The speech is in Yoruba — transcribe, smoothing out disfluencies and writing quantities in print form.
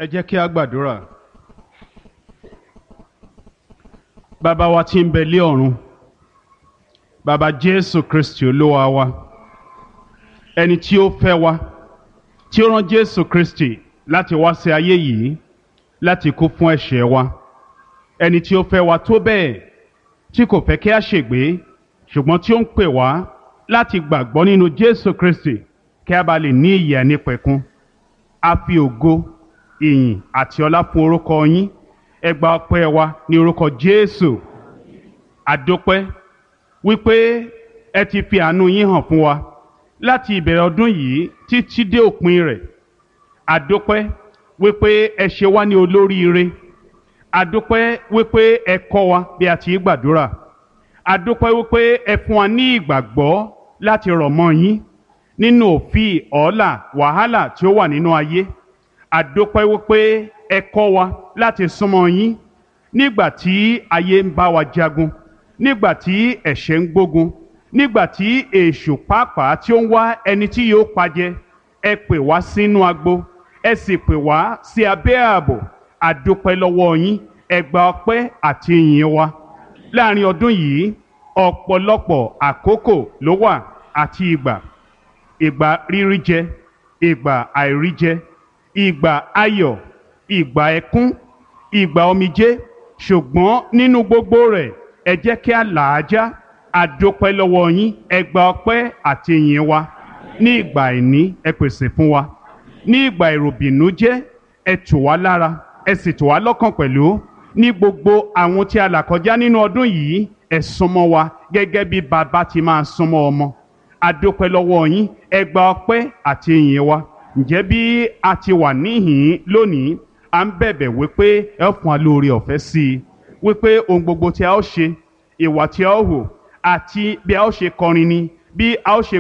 Ẹ jẹ́ kí a gbàdúrà. Bàbá wa tí ń bẹ lé ọ̀run, Bàbá Jésù Kristi Olúwa wa, ẹni tí ó fẹ́ wa, tí ó rán Jésù Kristi láti wá sí ayé yìí láti kú fún ẹ̀ṣẹ̀ wa, ẹni tí ó fẹ́ wa tó bẹ́ẹ̀ tí kò fẹ́ kí a ṣègbé, ṣùgbọ́n tí ó ń pè wá láti gbàgbọ́ nínú Jésù Kristi kí a bá lè ní ìyè àìnípẹ̀kun. A fi ògo, ìyìn àti ọlá fún orúkọ yín. Ẹ gba ọpẹ́ wa ní orúkọ Jésù. Àdópẹ́ wípé ẹ ti fi àánú yín hàn fún wa láti ìbẹ̀rẹ̀ ọdún yìí títí dé òpin rẹ̀. Àdópẹ́ wípé ẹ ṣe wá ní olóríire. Àdópẹ́ wípé ẹ kọ́ wa bí a ti ń gbàdúrà. Àdópẹ́ wípé ẹ fún wa ní ìgbàgbọ́ láti rọ̀ mọ́ yín nínú òfin ọ̀ọ́là wàhálà tí ó wà nínú ayé. Àdópẹ́ wípé ẹ kọ́ wa láti súnmọ́ yín nígbà tí ayé ń bá wa jagun, nígbà tí ẹ̀ṣẹ̀ ń gbógun, nígbà tí èṣù pàápàá tí ó ń wá ẹni tí yóò pajẹ. Ẹ pè wá sínú agbo, ẹ sì pè wá sí abẹ́ ààbò. Àdópẹ́ lọ́wọ́ yín. Ẹ gba ọpẹ́ àti ìyìn wa. Láàrin ọdún yìí, ọ̀pọ̀lọpọ̀ àkókò ló wà àti ìgbà. Ìgbà rírí jẹ, ìgbà àìrí jẹ, ìgbà ayọ̀, ìgbà ẹkún, ìgbà omijé, ṣùgbọ́n nínú gbogbo rẹ̀ ẹ jẹ́ kí a là á já. Àdópẹ́ lọ́wọ́ yín. Ẹ gba ọpẹ́ àti ìyìn wa. Ní ìgbà àìní, ẹ pèsè fún wa. Ní ìgbà ìròbìnújẹ́, ẹ tù wá lára, ẹ sì tù wá lọ́kàn pẹ̀lú. Ní gbogbo àwọn tí a là kọjá nínú ọdún yìí, ẹ súnmọ́ wa gẹ́gẹ́ bí bàbá ti máa súnmọ́ ọmọ. Àdópẹ́ lọ́wọ́ yín. Ẹ gba ọpẹ́ àti ìyìn wa. Ǹjẹ́ bí a ti wà níhìn-ín lónìí, à ń bẹ̀bẹ̀ wípé ẹ ó fún wa lóore ọ̀fẹ́ sí i, wípé ohun gbogbo tí a ó ṣe, ìwà tí a ó hù, àti bí a ó ṣe kọrin ni, bí a ó ṣe